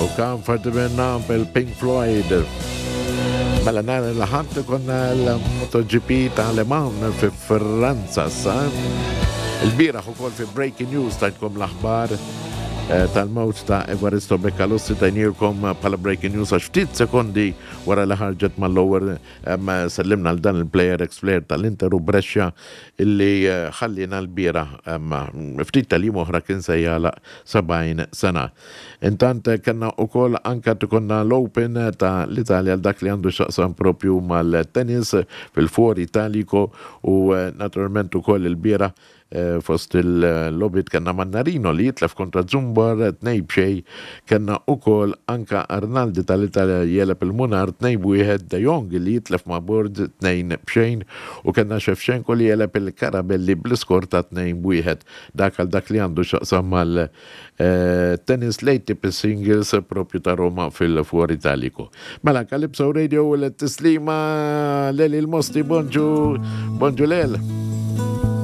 U Comfort minna bil-Pink Floyd. Mela nhar il-Ħadd konna l-MotoGP ta' Le Mans fi Franza sa. Il-bieraħ ukoll fi Breaking News tajtkom l-aħbar eh, tal-mewt ta' Evaristo Beccalossi tajnilkom bħala Breaking News għax ftit sekondi wara li ħarġet mal-lower Sellimna għal dan il-player, ex-player tal-Inter u Brescia illi ħalliena lbieraħ ftit tal-jiem oħra kien se jagħlaq 70 sena. Intant kellna ukoll anke konna l-Open ta' l-Italja għal dak li għandu x'jaqsam propju mal-tennis fil-Fuori Italico u naturalment ukoll ilbieraħ Fost il-logħbiet kellna Mannarino li jitlef kontra Zumbar 2-0, kellna ukoll anka Arnaldi tal-Italja jegħleb il-Munar 2-1, De Jong li jitlef ma' Borg 2-0 u kellna Shevchenko li jegħleb il-Karabelli bl-iskor ta' 2-1. Dak għal dak li għandu x'jaqsam mal-tennis l-ATP Singles propju ta' Roma fil-Fuor Italico. Mela Calypso Radio u l-tislima Leli l-Mosti, bonġu, bonġu Lel.